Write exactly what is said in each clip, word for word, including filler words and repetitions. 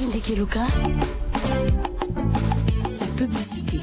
Ndeke Luka, la publicité.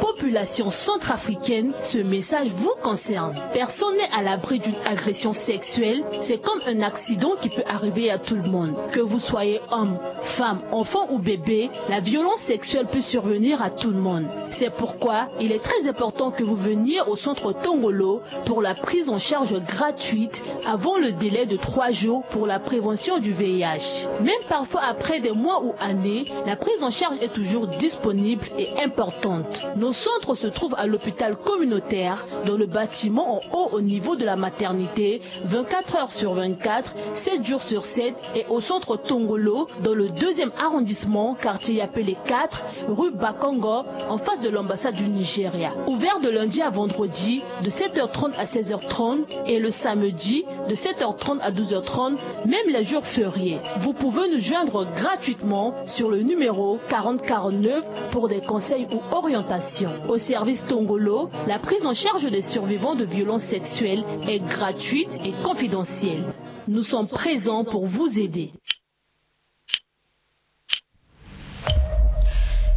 Population centrafricaine, ce message vous concerne. Personne n'est à l'abri d'une agression sexuelle. C'est comme un accident qui peut arriver à tout le monde. Que vous soyez homme, femme, enfant ou bébé, la violence sexuelle peut survenir à tout le monde. C'est pourquoi il est très important que vous veniez au centre Tongolo pour la prise en charge gratuite avant le délai de trois jours pour la prévention du V I H. Même parfois après des mois ou années, la prise en charge est toujours disponible et importante. Nos centres se trouvent à l'hôpital communautaire, dans le bâtiment en haut au niveau de la maternité, vingt-quatre heures sur vingt-quatre, sept jours sur sept, et au centre Tongolo, dans le deuxième arrondissement, quartier Yapele quatre, rue Bakongo, en face de l'ambassade du Nigeria. Ouvert de lundi à vendredi, de sept heures trente à seize heures trente, et le samedi, de sept heures trente à douze heures trente, même les jours fériés. Vous pouvez nous joindre gratuitement sur le numéro quarante quarante-neuf pour des conseils ou orientations. Au service Tongolo, la prise en charge des survivants de violences sexuelles est gratuite et confidentielle. Nous sommes présents pour vous aider.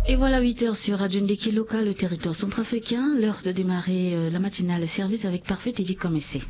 Et voilà huit heures sur Radio Ndeki Loka, le territoire centrafricain. L'heure de démarrer euh, la matinale service avec Parfait Teddy Komessé.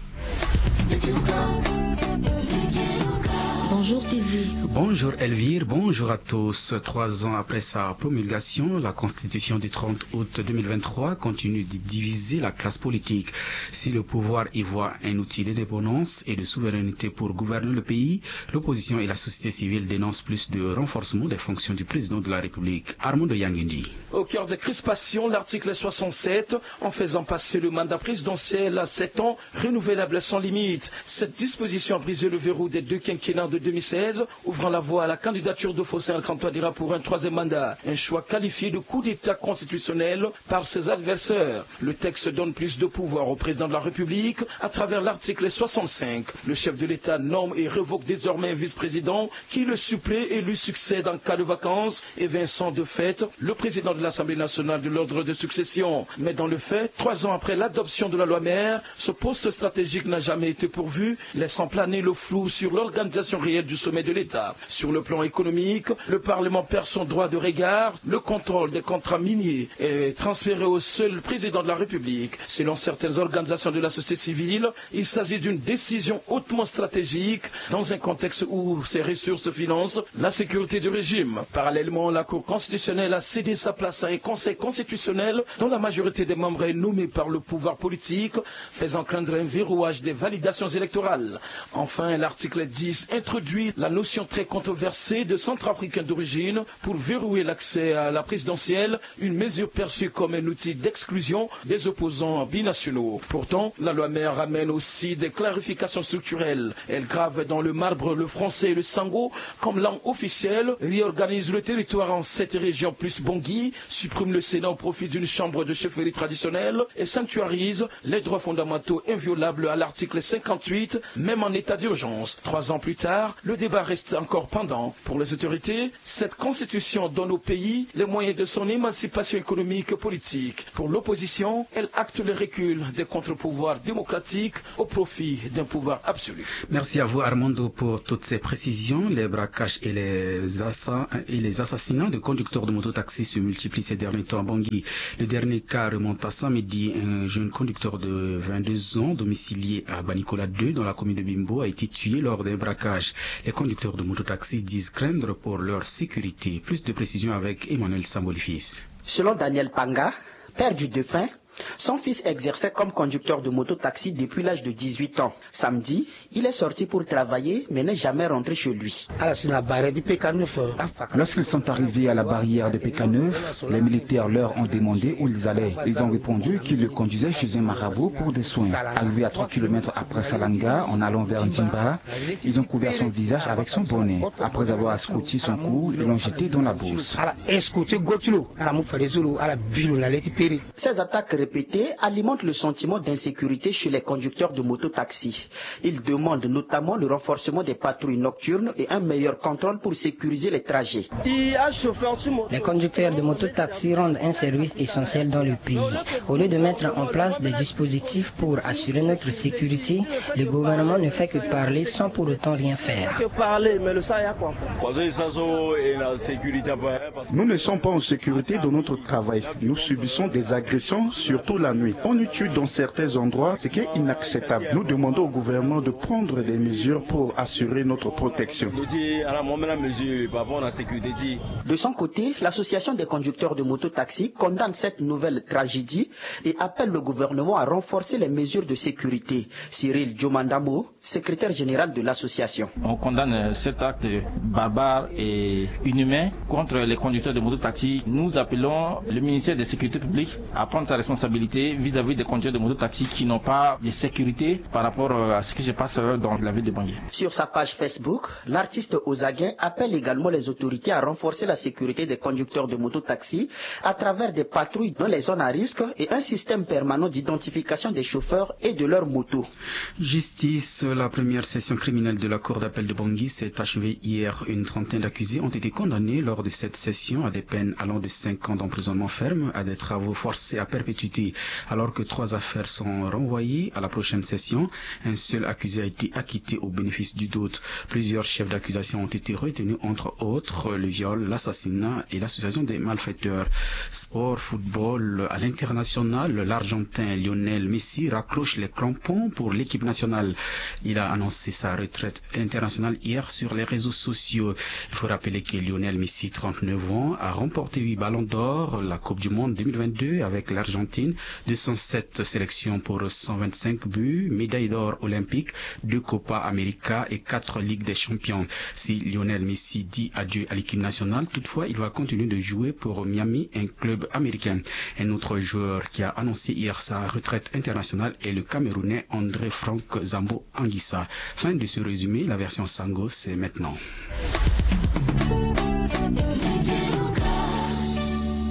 Bonjour Teddy. Bonjour Elvire, bonjour à tous. Trois ans après sa promulgation, la constitution du trente août deux mille vingt-trois continue de diviser la classe politique. Si le pouvoir y voit un outil d'indépendance et de souveraineté pour gouverner le pays, l'opposition et la société civile dénoncent plus de renforcement des fonctions du président de la République. Armando Yangendi. Au cœur des crispations, l'article soixante-sept, en faisant passer le mandat présidentiel à sept ans, renouvelable sans limite. Cette disposition a brisé le verrou des deux quinquennats de deux mille seize, ouvrant la voie à la candidature de Faustin Archange Touadéra pour un troisième mandat. Un choix qualifié de coup d'État constitutionnel par ses adversaires. Le texte donne plus de pouvoir au président de la République à travers l'article soixante-cinq. Le chef de l'État nomme et révoque désormais un vice-président qui le supplée et lui succède en cas de vacance, évinçant de fait le président de l'Assemblée nationale de l'ordre de succession. Mais dans le fait, trois ans après l'adoption de la loi mère, ce poste stratégique n'a jamais été pourvu, laissant planer le flou sur l'organisation réelle du sommet de l'État. Sur le plan économique, le Parlement perd son droit de regard, le contrôle des contrats miniers est transféré au seul président de la République. Selon certaines organisations de la société civile, il s'agit d'une décision hautement stratégique dans un contexte où ces ressources financent la sécurité du régime. Parallèlement, la Cour constitutionnelle a cédé sa place à un conseil constitutionnel dont la majorité des membres est nommée par le pouvoir politique, faisant craindre un verrouillage des validations électorales. Enfin, l'article dix introduit la notion très controversée de centrafricain d'origine pour verrouiller l'accès à la présidentielle, une mesure perçue comme un outil d'exclusion des opposants binationaux. Pourtant, la loi mère ramène aussi des clarifications structurelles. Elle grave dans le marbre le français et le sango comme langue officielle, réorganise le territoire en sept régions plus Bangui, supprime le Sénat au profit d'une chambre de chefferie traditionnelle et sanctuarise les droits fondamentaux inviolables à l'article cinquante-huit, même en état d'urgence. Trois ans plus tard, le débat reste encore pendant. Pour les autorités, cette constitution donne au pays les moyens de son émancipation économique et politique. Pour l'opposition, elle acte le recul des contre-pouvoirs démocratiques au profit d'un pouvoir absolu. Merci à vous Armando pour toutes ces précisions. Les braquages et les, assa- et les assassinats de conducteurs de mototaxi se multiplient ces derniers temps à Bangui. Le dernier cas remonte à samedi. Un jeune conducteur de vingt-deux ans, domicilié à Banicola deux dans la commune de Bimbo, a été tué lors d'un braquage. Les conducteurs de mototaxi disent craindre pour leur sécurité. Plus de précisions avec Emmanuel Sambolifis. Selon Daniel Panga, père du défunt, son fils exerçait comme conducteur de mototaxi depuis l'âge de dix-huit ans. Samedi, il est sorti pour travailler mais n'est jamais rentré chez lui. Lorsqu'ils sont arrivés à la barrière de P K neuf, les militaires leur ont demandé où ils allaient. Ils ont répondu qu'ils le conduisaient chez un marabout pour des soins. Arrivés à trois kilomètres après Salanga, en allant vers Ndimba, ils ont couvert son visage avec son bonnet. Après avoir scotché son cou, ils l'ont jeté dans la bourse. Ces attaques répétées Alimente le sentiment d'insécurité chez les conducteurs de mototaxi. Ils demandent notamment le renforcement des patrouilles nocturnes et un meilleur contrôle pour sécuriser les trajets. Les conducteurs de mototaxi rendent un service essentiel dans le pays. Au lieu de mettre en place des dispositifs pour assurer notre sécurité, le gouvernement ne fait que parler sans pour autant rien faire. Nous ne sommes pas en sécurité dans notre travail. Nous subissons des agressions, surtout la nuit. On nous tue dans certains endroits, ce qui est inacceptable. Nous demandons au gouvernement de prendre des mesures pour assurer notre protection. De son côté, l'association des conducteurs de mototaxi condamne cette nouvelle tragédie et appelle le gouvernement à renforcer les mesures de sécurité. Cyril Djomandamo, secrétaire général de l'association. On condamne cet acte barbare et inhumain contre les conducteurs de mototaxi. Nous appelons le ministère de la Sécurité publique à prendre sa responsabilité vis-à-vis des conducteurs de mototaxi qui n'ont pas de sécurité par rapport à ce qui se passe dans la ville de Bangui. Sur sa page Facebook, l'artiste Ozaguin appelle également les autorités à renforcer la sécurité des conducteurs de mototaxi à travers des patrouilles dans les zones à risque et un système permanent d'identification des chauffeurs et de leurs motos. Justice, la première session criminelle de la Cour d'appel de Bangui s'est achevée hier. Une trentaine d'accusés ont été condamnés lors de cette session à des peines allant de cinq ans d'emprisonnement ferme à des travaux forcés à perpétuité. Alors que trois affaires sont renvoyées à la prochaine session, un seul accusé a été acquitté au bénéfice du doute. Plusieurs chefs d'accusation ont été retenus, entre autres le viol, l'assassinat et l'association des malfaiteurs. Sport, football, à l'international, l'Argentin Lionel Messi raccroche les crampons pour l'équipe nationale. Il a annoncé sa retraite internationale hier sur les réseaux sociaux. Il faut rappeler que Lionel Messi, trente-neuf ans, a remporté huit ballons d'or, la Coupe du Monde deux mille vingt-deux avec l'Argentine, deux cent sept sélections pour cent vingt-cinq buts, médaille d'or olympique, deux Copa America et quatre Ligues des Champions. Si Lionel Messi dit adieu à l'équipe nationale, toutefois, il va continuer de jouer pour Miami, un club américain. Un autre joueur qui a annoncé hier sa retraite internationale est le Camerounais André Franck Zambo Anguissa. Fin de ce résumé, la version Sango, c'est maintenant.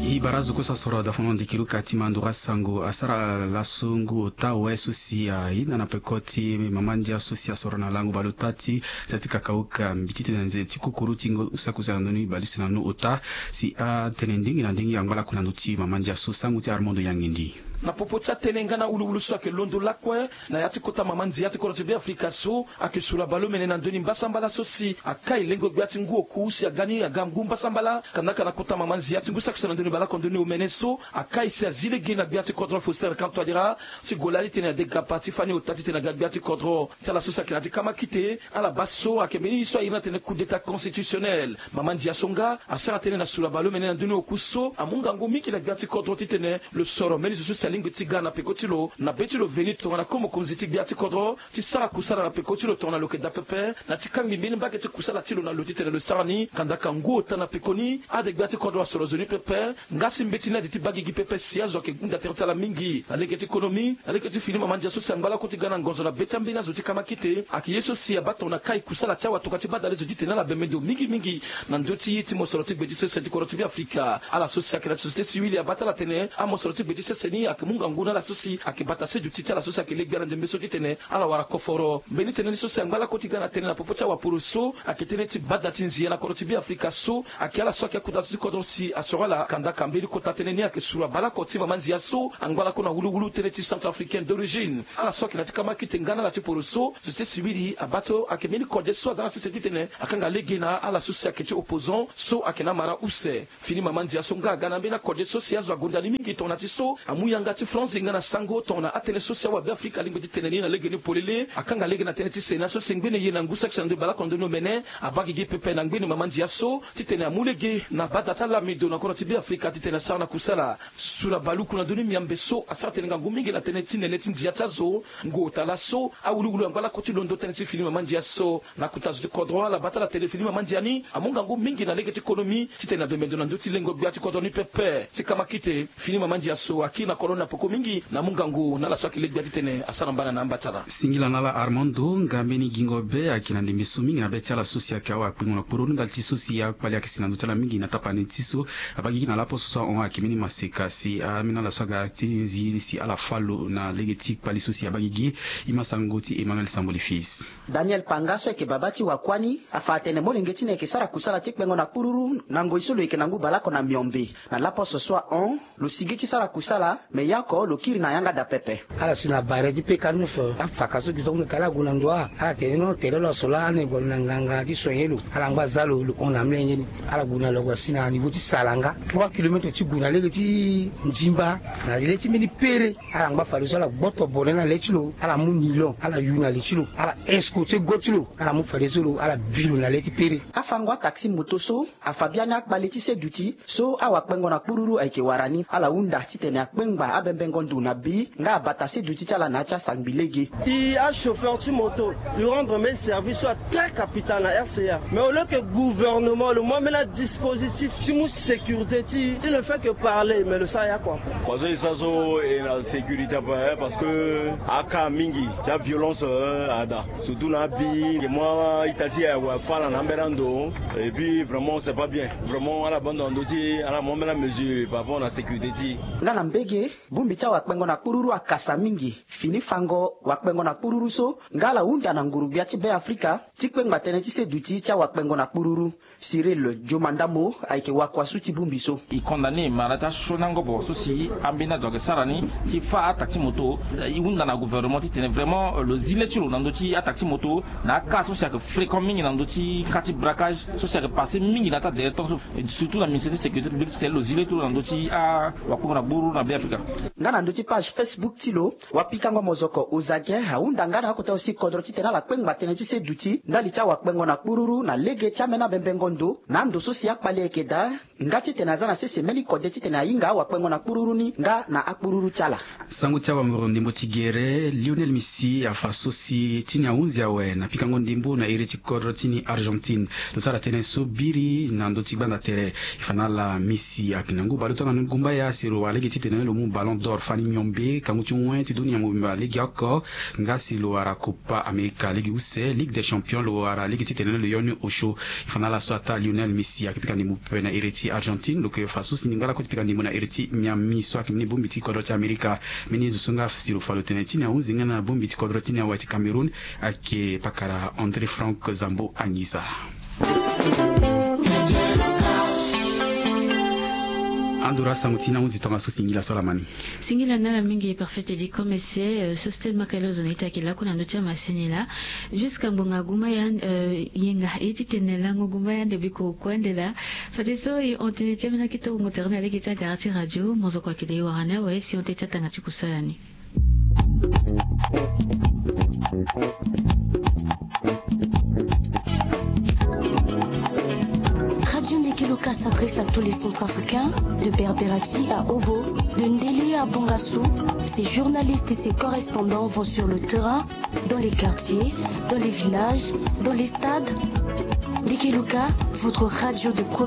E bara zo kue so asoro dafono ndekiro ka ti mandura sango asara laso ngu ota awe so si ayeda na peko ti mama ndia so si asoro na lango baleota ti za ti kakauka mbi titene na nze ti kokoro ti ngu sakuza na ndoni baleuse na nu ota si atene ndenge na ndenge angba lakue na ndö ti mama ndia so sango ti Armando Yangindi. Na popo ti atene nga na wuluwulu so ayeke londo lakue na ya ti kota mama ndia ti kodro ti Beafrika so ayeke sula baleomene na ndö ni mbasambala so si akai lengo gbia ti ngu oku si aga ni aga ngu mbasambala kandaka na kota mama ndia ti ngu saki so na ndö ni baleoko ndö ni omene so akai si azi lege na gbia ti kodro Faustin Archange Touadéra ti gue lali titene adega pa ti fani ota titene aga gbia ti kodro ti ala so si ayeke na ya ti kamakite. Ala baa so ayeke mbeni ye so airi ni atene coup d'état constitutionnel. Mama ndia so nga asara tënë na sula baleomene na ndö ni oku so amu ngangu mingi na gbia ti kodro titene lo soro mbeni zo so si alingbi ti ga na peko ti lo na be ti lo veni tongana ko mokonzi ti gbia ti kodro ti sara kusala na peko ti lo tongana lo yeke daa pepe na ti kangbi mbeni mbage ti kusala ti lo na lo titene lo sara ni kandaka ngu ota na pekoni. Ade gbia ti kodro asoro zo ni pepe. Nga si mbeti ni ade ti baa gigi pepe si azo ayeke hunda tere ti ala mingi na lege ti konomi na lege ti fini mama ndia so si angba lakue ti ga na ngonzo na be ti ambeni azo ti kamakite ayeke ye so si abaa tongana kai kusala ti awatokua ti badale zo titene ala bembe ndo mingi mingi na ndö ti ye ti mosoro ti gbe ti sese ti kodro ti Beafrika. Ala so si ayeke na société civile abaa ti ala tene amosoro ti gbe ti sese ni ayeke mu ngangu na ala so si ayeke bata se duti ti ala so si ayeke le gbia na ndembe so titene ala wara koforo mbeni tënë ni so si angba lakue ti ga na tënë na popo ti awaporo so ayeke tënë ti bada ti nzia na kodro ti Beafrika so ayeke ala so ayeke akota zo ti kodro si asoro ala kandaka mbeni kota tënë ni ayeke sura baleoko ti mama nzia so angba lakue na wuluwulu tënë ti centrafricain d'origine. Ala so ayeke na ya ti kamakite nga na ala ti poro so société civile abaa so ayeke mbeni kode so aza na sese titene akanga lege na ala so si ayeke ti opposant so ayeke na amara use. Fini mama ndia so nga aga na ambeni akode so si azo agonda ni mingi tongana ti so amu yanga ti France nga na sango tongana atënë so si awabeafrika alingbi ti tene ni na lege ni polele. Akanga lege na tënë ti sena so si ngbene ye na ngu saki na ndö baleoko na ndö ni omene abaa gigi pepe na ngbene mama ndia so titene amu lege na bada ti alamido na kodro ti beafrika titene asara na kusala. Sura baluku na ndö ni miambe so asara tene ngangu mingi na tënë ti nene ti ndia ti azo. Ngu ota laso awuluwulu angba lakue ti londo tënë ti fini mama ndia so. Na kota zo ti kodro ala baa ti ala tene fini mama ndia ni amu ngangu mingi na lege ti konomi titene abembe ndo na ndö ti lengo gbia ti kodro ni pepe. Ti kamakite fini mama ndia so akiri na kodro Na poko mingi na mungangu na ala so ayeke legba titene asara mbana na amba ti ala. Singila na ala Armando, nga mbeni gingo be ayeke na ndembe so mingi na be ti ala so si ayeke awa akpengo na kpururu ndali ti so si akpali ayeke si na ndö ti ala mingi na tapani ti so. Abagigi na laposo so ahon ayeke mbeni maseka si ambeni ala so aga ti nzi si ala fâ lo na lege ti kpali so si abagigi. E ma sango ti Emmanuel Samboli fils. Daniel Panga so ayeke babâ ti wakuâ ni afa atene molenge ti ni ayeke sara kusala ti kpengo na kpururu na ngoi so lo yeke na ngu baleoko na miombe. Na laposo so ahon, lo sigi ti sara kusala, me ya oko lo kiri na yanga daa pepe. Ala si na bare ti peka ni fo, afaka so gi so ahunda tara ala gue na ndo wa, ala tene non, tere lo aso laa, ala ne gue na nganga ti soigner lo, ala ngba za lo, lo hon na amolenge ni. Ala gue na lo ague asi na niveau ti Salanga, trois kilomètres ti gue na lege ti Nzimba, na le ti mbeni pere. Ala ngba fadeso ala gboto bone na le ti lo, ala mu nilon, ala yu na le ti lo, ala escorter go ti lo, ala mu fadeso lo, ala bi lo na le ti pere. Afango ataxi moto so afa biani akpale ti seduti so awakpengo na kpururu ayeke wara ni, ala hunda titene akpengba abembengo ndo na bi nga abata seduti ti ala na ya ti asangbi lege. E achauffeur ti moto, e rendre mbeni service so atrès capital na R C A. Mais au lieu que gouvernement lo mu ambeni adispositif ti mu sécurité ti e, il ne fait que parler, mais lo sara ya kua. Kua so e sara so e na sécurité ape, eh, parce que akaa mingi ti aviolence, eh, ada. Surtout na abi, e mu a-ita ti e ague afâ ala na ambeni ando. Et puis vraiment c'est pas bien. Vraiment ala bâ ndo na ndö ti e, ala mu ambeni amesure par rapport na sécurité ti e. Nga na mbege, bongbi ti awakpengo na kpururu akasa mingi. Fini fango wakpengo na kpururu so, nga ala hunda na nguru-gbia ti Beafrika ti kpengba tënë ti seduti ti awakpengo na kpururu. Cyril Diomandamo ayeke wakuasu ti bongbi so. E condamné mara ti asioni angobo so si ambeni azo ayeke sara ni ti fâ ataxi moto. E hunda na gouvernement titene vraiment, euh, lo zi le ti lo na ndö ti ataxi moto na akaa so si ayeke fréquent mingi na ndö ti ka ti braquage so si ayeke passé mingi na ata dernier temps so, surtout na ministère ti sécurité publique titene lo zi le ti lo na ndö ti awakpengo na kpururu na Beafrika. Nga na ndö ti page Facebook ti lo, wapikango mozoko Ozaguen ahunda nga na akota aussi kodro titene ala kpengba tënë ti seduti ndali ti awakpengo na kpururu na lege ti ambeni abembengo ndo na ando so si akpali ayeke daa, nga titene aza na sese mbeni kode titene ahinga awakpengo na kpururu ni nga na akpururu ti ala. Sango ti awangoro ndembo ti gere, Lionel Messi afa so si ti ni ahunzi awe na pikango ndembo na iri ti kodro ti ni Argentine. Lo sara tënë so biri na ndö ti gbanda tere. E fa na ala Messi ayeke na ngu baleota na ni gumbaya si lo wara lege titene lo mu Ballon d'Or fani miombe kangu ti wen ti dunia mobimba legeoko. Nga si lo wara Copa America lege use, Ligue des Champions lo wara lege titene lo yo ni osio. E fa na ala so ataa Lionel Messi ayeke pika ndembo pepe na iri ti Argentine, lo yeke fa so si ningba lakue ti pika ndembo na iri ti Miami so ayeke mbeni bongbi ti kodro ti Amerika. Mbeni zo so nga si lo fa lo tene ti ni ahunzi nga na bongbi ti kodro ti ni awe ti Cameroun. Ayeke pakara André Franck Zambo Anguissa. Andura sango ti ni ahunzi tongaso singila so ala ma ni. Singila na ala mingi Parfait Teddy Komese, euh, so Stella Makalo zo na ita yeke lakue na ndö ti amasini laa. Jusqu'à ngbonga gumba ya, euh, yenga ye ti tene lango gumba ya ande biko kue ande laa. Fadeso e hon tënë ti ambeni akete wungo tere na lege ti agara ti radio, mozoko ayeke de e wara ni awe si e hon tënë ti atanga ti kusala ni. Radio Ndeke Luka s'adresse à tous les Centrafricains, de Berberati à Obo, de Ndélé à Bongassou. Ses journalistes et ses correspondants vont sur le terrain, dans les quartiers, dans les villages, dans les stades. Ndeke Luka, votre radio de proximité.